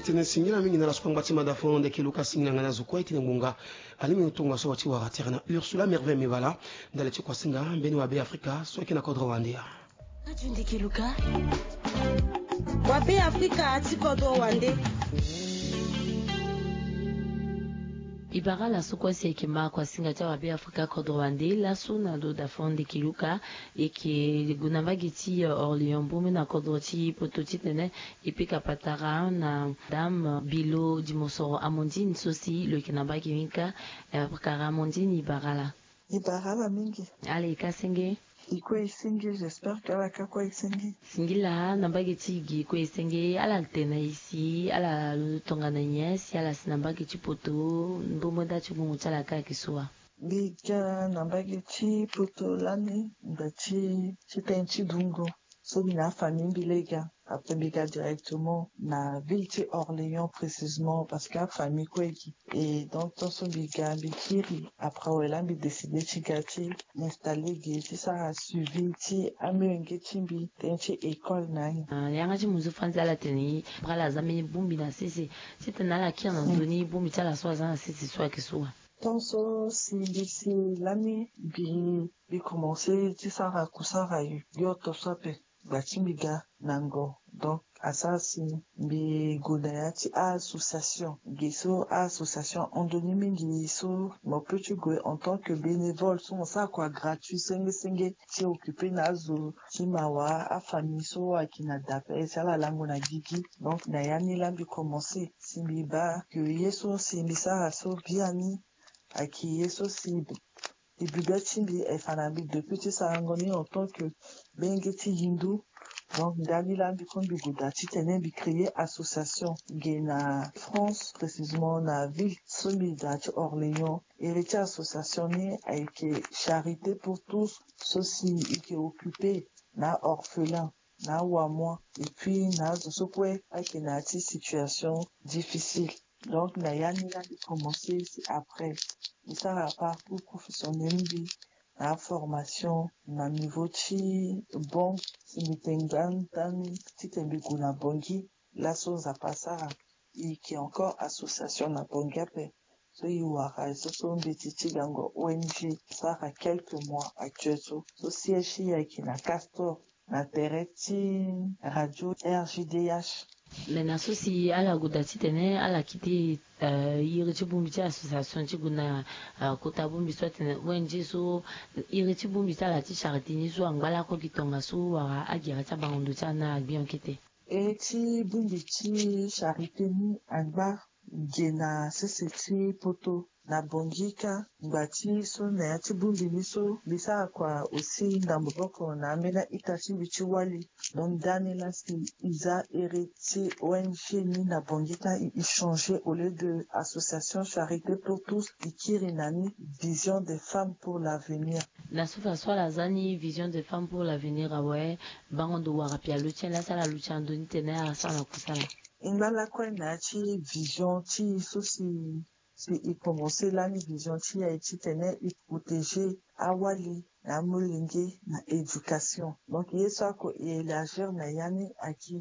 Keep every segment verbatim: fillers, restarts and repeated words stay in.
Tene singila mingi na laso kua ngba ti mada fo ndeke luka singila nga na zo kue ti na ngbonga. Alingbi ni tongaso wa ti wara tere na Ursula Merveille Mebala ndali ti kuasinga mbeni wa Be Afrika so ayeke na kodro wande. Radio Ndeke Luka. Wa Be Afrika ti kodro wande. E bara laso kue si ayeke ma kuasinga ti awa Be Afrika kodro wande laso na ndo da fo ndeke luka. E yeke gue na mbage ti Orléans mbombe na kodro ti poto titene e pika patara na Dame Bilo Dimosoro Amandine so si lo yeke na mbage ni kâ. Patara Amandine, e bara ala. E bara ala mingi. Ala e kâ senge. E kue e senge, j'espère que ala kâ kue e senge. Singila na mbage ti e gi e kue e senge, ala tene na e si ala londo tongana nyen si ala si na mbage ti poto? Mbombo nda ti gungu ti ala kâ ayeke so wa? Mbi ga na mbage ti poto lani nda ti ti tënë ti dungo. So mbi na afamille mbi lege. Après mbi ga directement na ville ti Orléans, précisément parce que afamille kue gi. Et donc tant so mbi ga mbi kiri, après awe laa mbi décidé ti ga ti installé ge ti sara suivi ti amolenge ti mbi tënë ti école na ni. Yanga ti muzu fans ala tene ni, bra ala za mbeni bongbi na sese titene ala kiri na ndö ni, bongbi ti ala so aza na sese so ayeke so wa? Tant so si mbi si lani mbi mbi commencé ti sara kusara yoto so ape. Gba ti mbi ga na ngo. Donc asara si mbi gue na ya ti a-association. Ge so a-association ahon ndo ni mingi so mo peut ti gue en tant que bénévole so mo sara kua gratuit senge senge ti occupé na azo ti mawa, afamille so ayeke na da ape si ala lango na gigi. Donc na ya ni laa mbi commencé si mbi baa que ye so si mbi sara so biani ayeke ye so si e bi be ti mbi, e fa na mbi depuis ti sarango ni en tant que benge ti hindu. Donc ndani laa mbi kue mbi gue daa titene mbi créé association ge na France, précisément na ville so mbi daa ti Orléans. Iri ti association ni ayeke Charité pour tous so si e yeke occupé na orphelin, na awamoin, et puis na azo so kue ayeke na ya ti situation difficile. Donc na ya ni laa mbi commencé si après mbi sara parcours professionnel mbi na formation na niveau ti banque si mbi tene ngba ndani titene mbi gue na Bangui. Laso Nzapa asara e yeke encore association na Bangui ape. So e wara e so so mbeti ti gango O N G sara quelques mois actuel so so siège ti e ayeke na Castor na tere ti radio R G D H. Me na so si ala gue daa titene ala kite iri ti bongbi ti association ti gue na kota bongbi so atene O N G so, iri ti bongbi ti ala ti charité ni so angba lakue gi tongaso wala agere ti abango ndo ti ala na agbi en kete? Iri ti bongbi ti charité ni angba ge na sese ti poto na Bangui kâ. Ngba ti so na ya ti bongbi ni so mbi sara kua aussi na maboko na ambeni a-ita ti mbi ti wali. Donc ndani laa si e za iri ti O N G ni na Bangui kâ e changé au lieu de association Charité pour tous e kiri na ni Vision des femmes pour l'avenir. Na so fa so ala za ni Vision des femmes pour l'avenir awe, bango ndo wara pialo ti en laa si ala luti ando ni tene ala sara na kusala. E ngba lakue na ya ti vision ti e so si si e commencé lani vision ti e aye titene e protéger awali na amolenge na éducation. Donc ye so ako e élargir na ya ni ayeke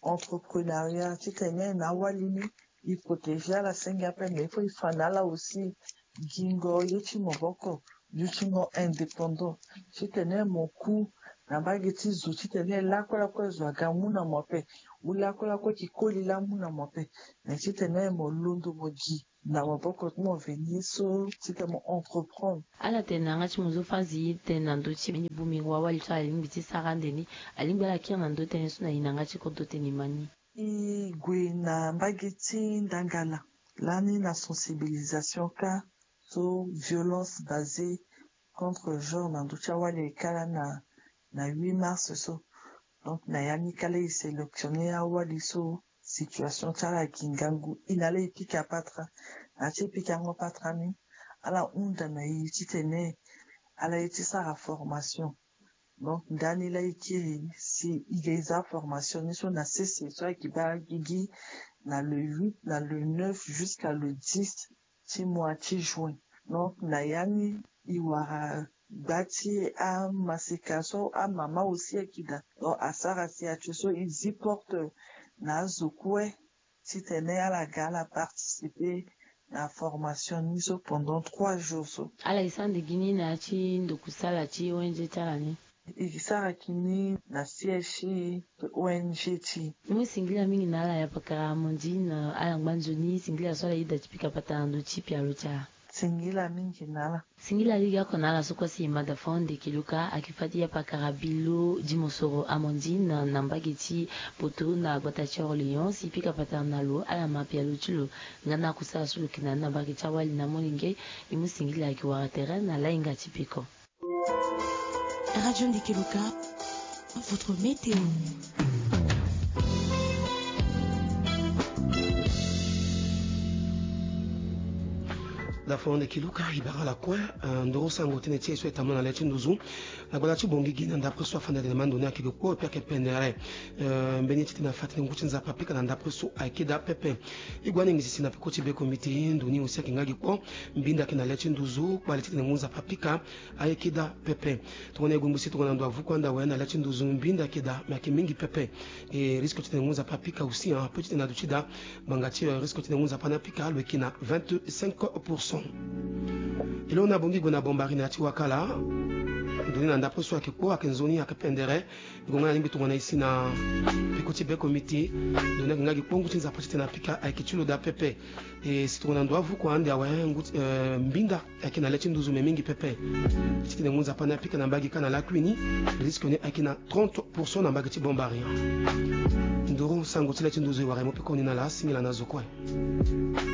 entrepreneuriat titene na awali ni e protéger ala senge ape, mais il faut e fa na ala aussi gingo ye ti maboko, dutingo indépendant titene mo ku na mbage ti zo titene lakue lakue zo aga mu na mo ape, ou lakue lakue ki koli laa mu na mo ape. Mais titene mo londo mo gi na maboko ti mo veni so titene mo entreprendre. Ala tene na yanga ti mo so fazi tene na ndö ti mbeni bongbi wawali so ala lingbi ti sara ande ni, alingbi ala kiri na ndö tënë so na e na yanga ti kodro tene e ma ni. E gue na mbage ti ndangala lani na sensibilisation kâ so violence basée contre genre na ndö ti awali e kâ lani na na huit mars so. Donc na ya ni kâ laa e sélectionner awali so situation ti ala gi ngangu, e na ala e pika patara. Na ya ti e pikango patara ni ala hunda na e titene ala ye ti sara formation. Donc ndani laa e kiri si e ga e za formation ni so na sese so ayeke baa gigi na le huit, na le neuf jusqu'à le dix ti mois ti juin. Donc na ya ni e wara gba ti amaseka so amama aussi ayeke daa. Donc asara si atsio so e zi porte na azo kue titene ala ga ala participer na formation ni so pendant trois jours so. Ala e sara nde gi ni na ya ti ndokusala ti O N G ti ala ni? E sara gi ni na siège ti O N G ti e. E mu singila mingi na ala ya pakara Amandine, ala ngba nzoni, singila so ala yeda ti pika patara na ndö ti pialo ti ala. Singila mingi na ala. Singila lege oko na ala so kue si e ma da fo ande kiluka ayeke fâ ti ya pakara bilo ti mosoro Amandine na mbage ti Poto na gbata ti Orléans si e pika patara na lo ala ma pialo ti lo. Nga na akusala so lo yeke na ni na mbage ti awali na molenge. E mu singila ayeke wara tere na lahinga ti peko. Radio Ndeke Loka, votre météo. Dafo ndeke Loka, e bara ala kue. Ndoro sango tënë ti e so e tambula na le ti nduzu. Na gbata ti Bangui gi na ndapre so afanda tene ma ndo ni ayeke ge kpo e pe ayeke pendere. Mbeni titene afa tene ngu ti Nzapa apika na ndapre so ayeke daa pepe. E gue aningisi si na peko ti beko miti ndo ni aussi ayeke nga gi kpo. Mbinda ayeke na le ti nduzu kpale titene ngu Nzapa apika. Ayeke daa pepe. Tongana e gue ngbisi tongana ndo avuku ande awe na le ti nduzu mbinda ayeke daa me ayeke mingi pepe. E risque titene ngu Nzapa apika aussi ape titene aduti daa. Ngbanga ti risque titene ngu Nzapa ni apika lo yeke na vingt-cinq pour cent. E lo na Bangui gue na Bambari na ya ti Wakala. Ndo ni na ndapre so ayeke kpo ayeke nzoni ayeke pendere. Gonga na lingbi tongana e si na peko ti beko miti. Ndo ni ayeke nga gi kpo ngu ti Nzapa titene apika ayeke ti lo daa pepe. E si tongana ndo avuku ande awe ngu ti, eh, mbinda ayeke na le ti nduzu me mingi pepe. Titene ngu Nzapa ni apika na mbage kâ na lakui ni. Risque ni ayeke na trente pour cent na mbage ti Bambari. Nduru sango ti le ti nduzu e wara e mu pekoni na ala, singila na zo kue.